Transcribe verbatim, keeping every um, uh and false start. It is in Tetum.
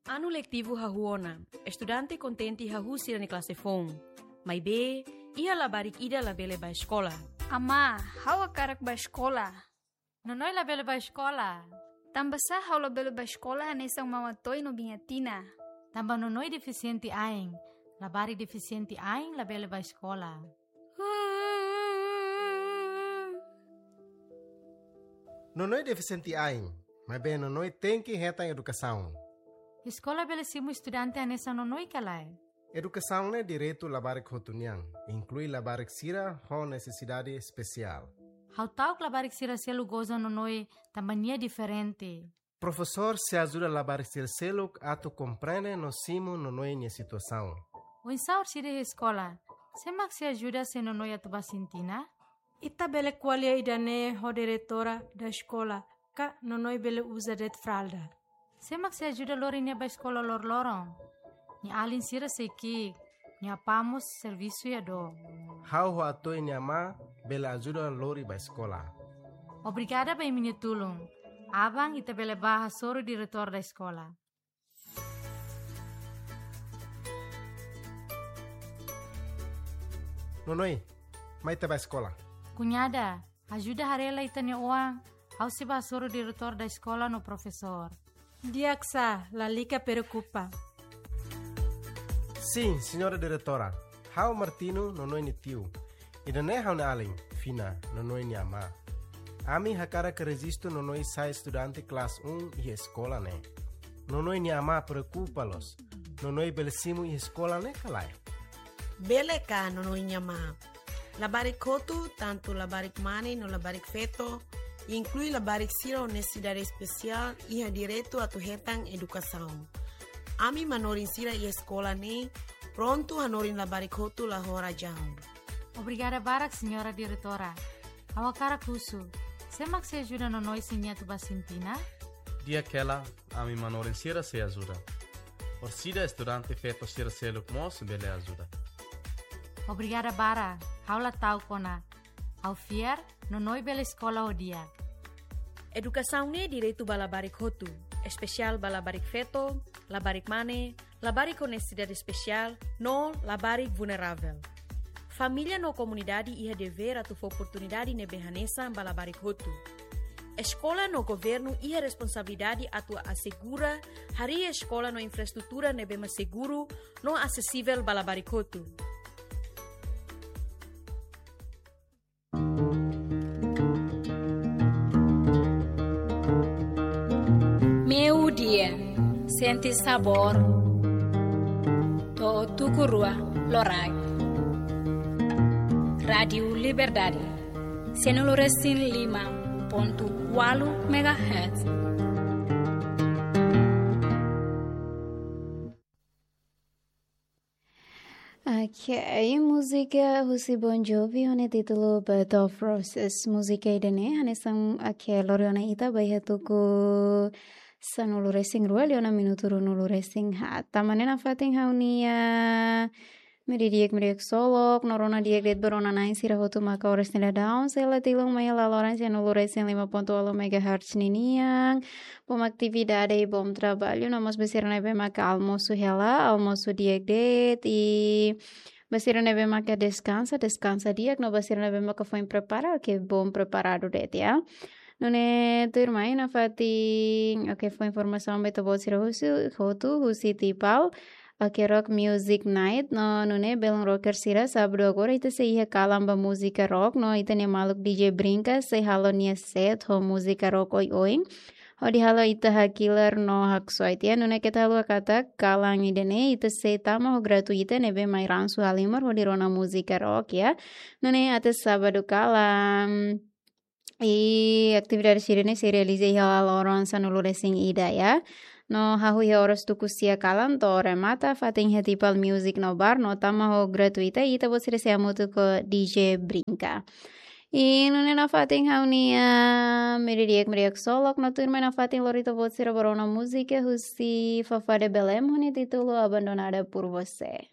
Anu letivu hahú ona, estudante kontente hahú sira-nia klase foun. Maibé, iha labarik ida labele bá eskola. Amá, ha'u hakarak bá eskola. Nonoi labele bá eskola. Tanbasá ha'u labele bá eskola hanesan Mama Toy no Biña Tina? Tanba Nonoi defisiente ain. Labarik defisiente ain labele bá eskola. Nonoi defisiente ain, maibé Nonoi tenke hetan edukasaun. Eskola bele simu estudante hanesan Nonoi ka lae? Edukasaun ne'e direitu labarik hotu nian, inklui labarik sira ho nesesidade espesiál. Ha'u ta'uk labarik sira seluk goza Nonoi tanba nia diferente. Profesór sei ajuda labarik sira seluk atu komprende no simu Nonoi nia situasaun. Oinsá orsida iha eskola, sé mak sei ajuda se Nonoi atu bá sintina? Ita bele ko'alia ida-ne'e ho diretora da eskola, ka Nonoi bele uza de'it fralda. Sé mak sei ajuda lori nia bá eskola loroloron? Nia alin sira sei ki'ik, nia apá mós servisu iha dook. Ha'u ho Atoy nia amá bele ajuda lori bá eskola. Obrigada ba imi-nia tulun. Aban ita bele bá hasoru diretór da eskola. Nonoi, mai ita bá eskola. Kuñada, ajuda haree lai ita-nia oan, ha'u sei bá hasoru diretór da eskola no profesór. Di'ak sá, lalika preokupa. Sin, señora diretora. Ha'u Martino, Nonoi nia tiu. Ida-ne'e ha'u-nia alin, Fina, Nonoi nia amá. Ami hakarak rejistu Nonoi sai estudante klase um iha eskola ne'e. Nonoi nia amá preokupa loos. Nonoi bele simu iha eskola ne'e ka lae? Bele ka, Nonoi nia amá? Labarik hotu, tantu labarik mane no labarik feto, inklui labarik sira ho nesesidade espesiál, iha direitu atu hetan edukasaun. Ami manorin sira iha eskola ne'e prontu hanorin labarik hotu la ho razaun. Obrigada barak, señora diretora. Ha'u hakarak husu, sé mak sei ajuda Nonoi se nia atu bá sintina? Di'ak hela, ami manorin sira sei ajuda. Orsida estudante feto sira seluk mós bele ajuda. Obrigada barak, ha'u la ta'uk ona. Ha'u fiar, Nonoi bele eskola ho di'ak. Edukasaun ne'e direitu ba labarik hotu, espesiál ba labarik feto, labarik mane, labarik ho nesesidade espesiál, no labarik vulneravel. Família no komunidade iha devér atu fó oportunidade ne'ebé hanesan ba labarik hotu. Eskola no governu iha responsabilidade atu asegura harii eskola no infraestrutura ne'ebé mak seguru no asesivel ba labarik hotu. Meiudia, sente sabór to'o tuku rua loraik. Rádiu Liberdade, sanulu resin lima pontu ualu megahertz. Ok, múzika husi Bon Jovi ho nia títulu Bed of Roses. Múzika ida-ne'e hanesan, ok, lori ona ita ba iha tuku sanulu resin rua liu ona minutu ruanulu resin haat. Tanba ne'e nafatin ha'u-nia meiudia di'ak, meiudia di'ak ksolok, no rona di'ak de'it ba rona-na'in sira hotu maka oras nia daudaun sei la tilun mai iha laloran sanulu resin lima pontu ualu megahertz ninian. Bom atividade i bom trabalho. No mós ba sira ne'ebé maka almosu hela, almosu di'ak de'it, i ba sira ne'ebé maka deskansa, deskansa di'ak, no ba sira ne'ebé maka foin prepara, ok, bom preparadu de'it, ya. Nune'e tuirmai nafatin, ok, fó informasaun ba ita-boot sira husi, hotu, husi Tipal. Ok, Rock Music Night, no nune'e belun rocker sira, sábadu agora ita sei iha kalan ba múzika rock, no ita-nia maluk D J Brinka sei halo nia set ho múzika rock oioin. Hodi halo ita hakilar no haksoit, ya. Nune'e keta haluha katak kalan ida-ne'e ita sei tama ho gratuita ne'ebé mai ransu halimar hodi rona múzika rock, ya. Nune'e até sábadu kalan. I atividade sira-ne'e sei realiza iha laloran sanulu resin ida, ya. No hahú iha oras tuku sia kalan to'o remata, fatin iha Tipal Music no Bar, no tama ho gratuita, ita-boot sira sei hamutuk ho D J Brinka. I nune'e nafatin ha'u-nia meiudia di'ak, meiudia di'ak ksolok, no tuirmai nafatin lori ita-boot sira ba rona múzika husi Fafá de Belém ho nia títulu Abandonada por Você.